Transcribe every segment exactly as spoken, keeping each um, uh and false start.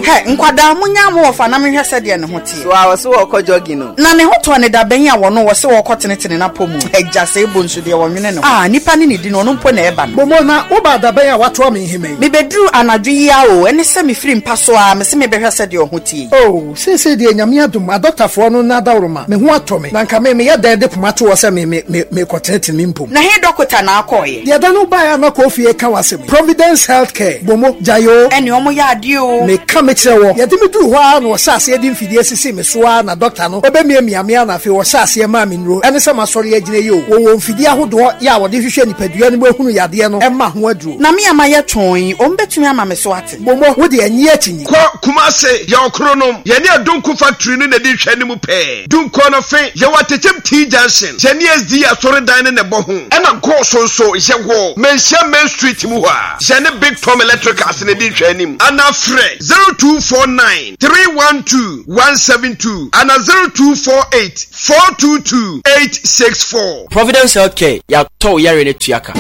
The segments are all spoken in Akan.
Hɛ, nkwadaa monya mo wɔfa na mehwɛ sɛdeɛ ne ho teɛ. So a wɔso wɔkɔ jogging no. Na ne ho tɔ ne da bɛn a wɔno wɔ sɛ wɔkɔ tenetene n'apɔ mu. Agya sɛ ebo nso deɛ wɔnwene ne ho. Ah, nipa ne ne di no, ɔno mpo na ɛba no. Bomo na woba da bɛn a watoa me nhema yi? Mebɛduru anadwo yi a o, ɛne sɛ mefiri mpa so a mese mebɛhwɛ sɛdeɛ ɔho tie yi. Oh, seesei deɛ Nyame adom, adɔktafoɔ no na adaworoma, me ho atɔ me. Na nka me meyɛ dɛn de poma to hɔ sɛ me me me mekɔtenetene me mpom. Na he dɔkota na akɔɔyɛ? Deɛ da no baeɛ a na kɔ fie ka w'asɛm yi. Providence Healthcare, Bomo, gyae o. Ɛne ɔmo yɛ adeɛ o. Meka me kyerɛ wɔ. Yɛde me duru hɔ a na wɔhyɛ aseɛ de mfidie sisi me so a na dɔkta no ɔbɛmiamia me a na afei wɔhyɛ aseɛ maa me nnuro. Ɛne sɛ masɔre agyina yi o. Wɔwɔ mfidie ahodoɔ yɛ a wɔde hwehwɛ nipadua no mu ehunu yadeɛ no ɛma ho aduro. Na me ama yɛ twɔn yi, ɔmo bɛtumi ama me so ate. Bomo, wo deɛ nyi akyi nyi. Kɔ Kumase, yɛwɔ Kronom, yɛne Adonko factory no na ɛdi hwɛ no mu pɛɛ. Dunkɔ no fe, yɛwɔ Atekyem T Junction, yɛne S D asɔredan no na ɛbɔ ho. Ɛna Goaso nso, yɛwɔ Manhyia Main Street mu hɔ a, yɛne Big Tom Electricals na ɛdi hwɛ anim. Ana frɛ zero two four nine three one two one seven two ana zero two four eight four two two eight six four. Providence Healthcare, yɛatɔ wo yare no tua ka.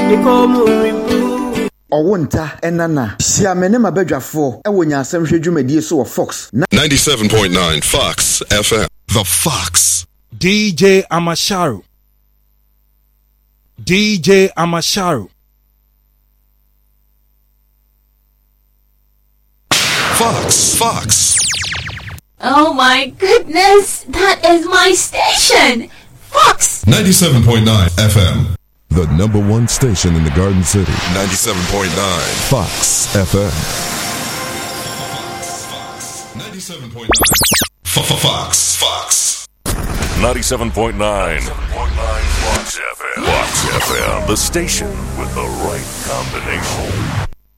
Ɔwo nta ɛnana hyia me ne m'abadwafoɔ ɛwɔ nyansɛm hwɛ dwumadie so wɔ Fox ninety-seven point nine Fox F M. The Fox. D J Amasharu. D J Amasharu. Fox. Fox. Oh my goodness, that is my station! Fox! ninety-seven point nine F M. The number one station in the Garden City. ninety-seven point nine Fox F M. ninety-seven point nine Fox. Fox. ninety-seven point nine. Fox F M. Fox F M. The station with the right combination.